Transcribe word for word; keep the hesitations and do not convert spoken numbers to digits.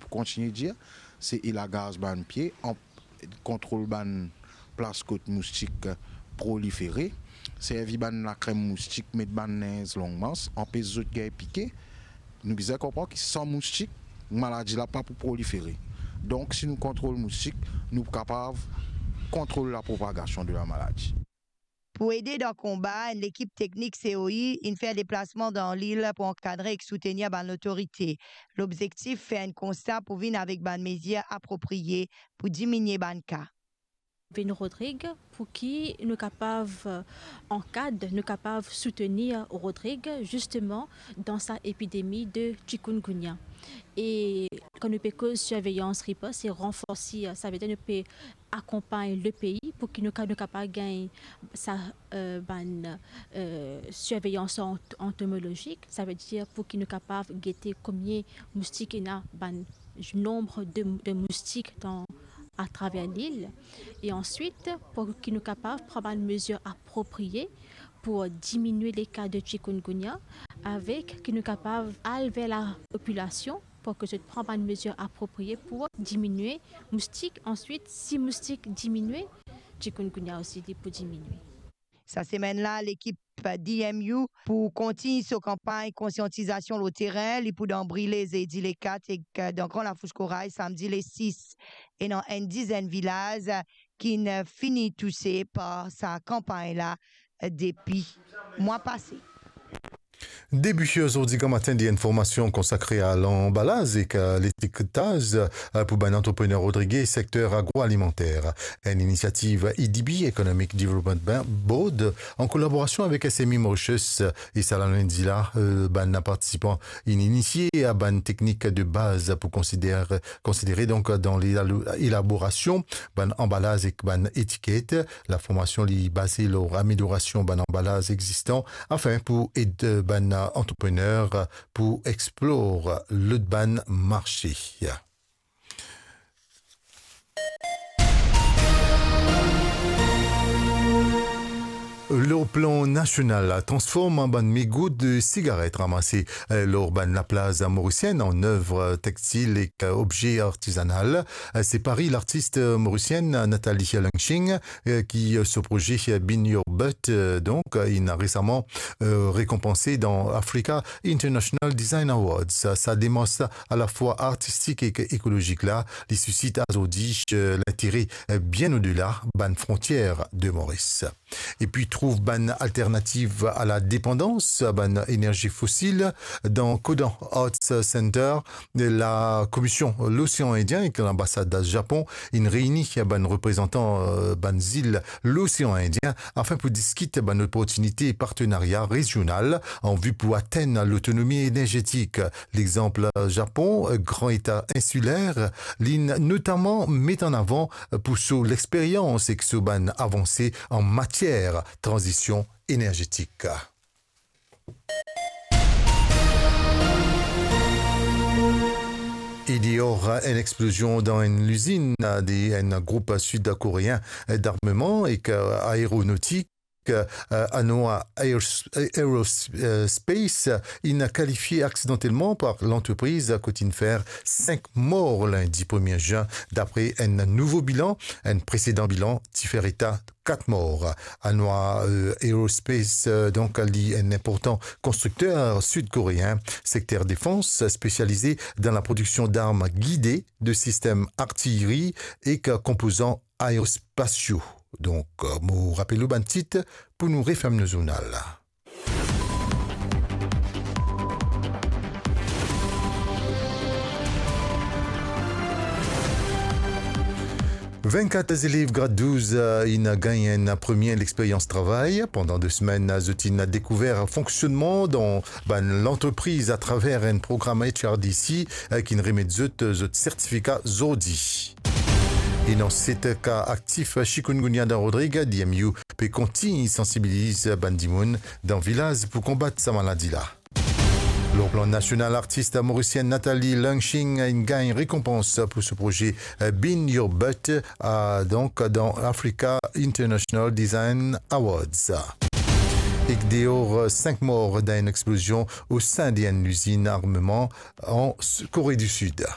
Kontigne dir, se elagaz bann pie, an-, kontrol bann plas kot moustik prolifere, servi bann lakrem moustik, met bann linz long mans, anpes zot gagn pike. Nou bizin konpran ki san moustik, maladi la pa pou prolifere. Donk, si nou kontrol moustik, nou pou kapav kontrol lapropagasion de lamaladi. Pou ede dan konba, enn lekip teknik C O I inn fer deplasman dan lil pou ankadre ek soutenir bann lotorite. Lobzektif, fer enn konsta pou vinn avek bann mezir apropriye pou diminie bann ka. Vinn Rodrig, pou ki nou kapav, eh, ankad, nou kapav soutenir Rodrig, zisteman, dan sa epidemi de chikungunya. E kan nou pe koz sirveyans, ripos e ranforsi, eh, savedir nou pe akonpagn le pei pou ki nou ka-, nou kapav gagn sa, eh, bann, eh, sirveyans ant-, antomolozik, savedir pou ki nou kapav gete komie moustik ena, bann nonb de, de moustik dan, atraver lil. E answit, pou ki nou kapav pran bann mezir apropriye pou diminie le ka de chikungunya, avek ki nou kapav al ver lapopilasion pou ki zot pran bann mezir apropriye pou diminie moustik. Answit, si moustik diminie, chikungunya osi li pou diminie. Sa semenn la, lekip D M U pou kontign so kanpagn konsiantizasion lor terin. Li pou dan Brile Zedi le kat ek dan Gran Lafous Koray Samdi le sis. Ena enn dizenn vilaz ki'nn fini touse par sa kanpagn la depi mwa pase. Debi zordi gramatin, de informasion konsakre a lanbalaz ek, eh, letiketaz, eh, pou bann antreprener Rodrig, sekter agroalimanter. Enn inisiativ A D B, Economic Development Ban-, Board, an kolaborasion avek S M E Mauritius, eh, e sa lane la, eh, bann partisipan inn inisie a bann teknik de baz pou konsider-, konsidere, donk, dan lelabo-, elaborasion bann anbalaz ek bann etiket. Laformasion li baze lor ameliorasion bann anbalaz existan, afin pou ed bann antreprener pou explor lot bann marse. Lor plan nasional, transform bann mego de sigaret ramase, eh, lor bann laplaz morisienn an zev textil ek, eh, obze artizanal. Eh, se pari lartis, eh, morisienn Nathalie Lungshing, eh, ki, eh, so proze, eh, Bean Your Butt, eh, donk, eh, inn resaman, eh, rekonpanse dan Africa International Design Awards. Sa, sa demars alafwa artistik ek ekolozik la, li sisit azordi, eh, lintere, eh, bien odela bann frontier de Moris. Epi trouv bann alternativ a la depandans a bann enerzi fosil dan Kodan Arts Center. La Komision Losean Indien ek lanbasad Japon inn reini bann reprezantan, eh, bann zil Losean Indien afin pou diskit bann loportinite partenaria rezional an vi pou atenn lotonomi enerzetik. Lexanp Japon, gran eta insiler, li notaman met an avan pou so lexperyans ek so bann avanse an matier tranzision enerzetik. E deor, enn explozion dan enn lizinn de enn group sid-koreen d'armeman ek aeronotik, eh, Hanwha Aeros-, Aerospace, inn kalifie aksidantelman par lantrepriz kot inn fer sink mor lindi premie zin, dapre enn nouvo bilan. Enn presedan bilan ti fer eta kat mor. Hanwha, eh, Aerospace, eh, donk, li enn inportan konstrikter sid-koreen, sekter defans, spesialize dan laprodiksion darm gide, de sistem artileri ek konpozan aerospasio. Donk, mo rapel ou bann tit pou nou referm nou zournal la. Vennkat zelev grad douz, eh, inn gagn enn premie lexperyans travay. Pandan de semenn, zot inn dekouver fonksionnman dan bann lantrepriz atraver enn program H R D C, eh, ki'nn remet zot, eh, zot sertifika zordi. Ena set ka aktif chikungunya dan Rodrig, D M U pe kontign sansibiliz bann dimoun dan vilaz pou konbat sa maladi la. Lor plan nasional, artis morisienn Nathalie Lungshing inn gagn rekonpans pou so proze, eh, Bean Your Butt, eh, donk dan Africa International Design Awards. Ek deor, eh, sink mor dan enn explozion o sin de enn lizinn armeman an S-, Kore di Sid.